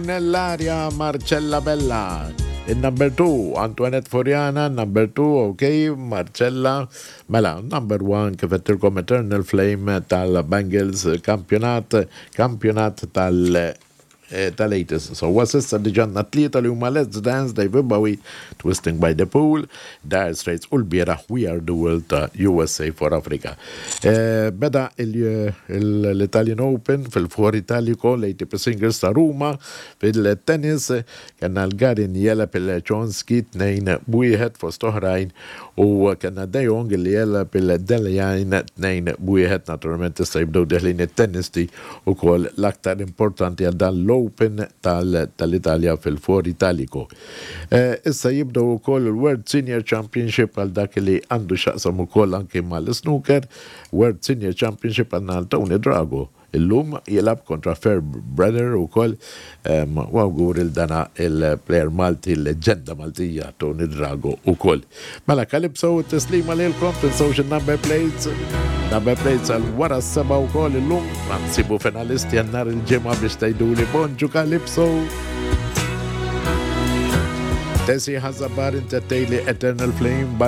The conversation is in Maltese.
Nell'aria Marcella Bella. Il-number 2, Antoinette Foriana, number 2, ok, Marcella. Mela, number 1, kif għedtilkom Eternal Flame tal-Bengals, kampjonat, kampjonat tal- eh, tal-80s. So, s'issa diġà għandna tlieta li huma Let's Dance, David Bowie, Twisting by the Pool, Dire Straits u l-bieraħ We Are the World ta' USA for Africa. Eh, beda l-Italian Open fil-For Italico, l-ATP Singles ta' Ruma, fil-tennis, kellna l-Garin jegħleb il-Chonski 2-1 fost oħrajn u kellna De Jong li jegħleb il-Delejain 2-1. Naturalment issa jibdew deħlin it-tennisti ukoll l-aktar importanti għal dan l-Open tal-Italja fil-For Italico. Eh, issa jibdew ukoll il-World Senior Championship għal dak li għandu x'jaqsam ukoll anki mal-snooker. World Senior Championship għandna Tony Drago. Illum jilgħab kontra Fair Brother ukoll u awgur il dana il-player Malti, l-leġenda Maltija Tony Drago ukoll. Mela Calypso t-tislima lilkom, tinsewx il-number plates. Number plates għal wara s-seba ukoll illum, ma nsibu finalisti għal nhar il-ġimgħa biex tgħiduli bonġu Calypso. Tesi Ħażabar inti tgħidli Eternal Flame.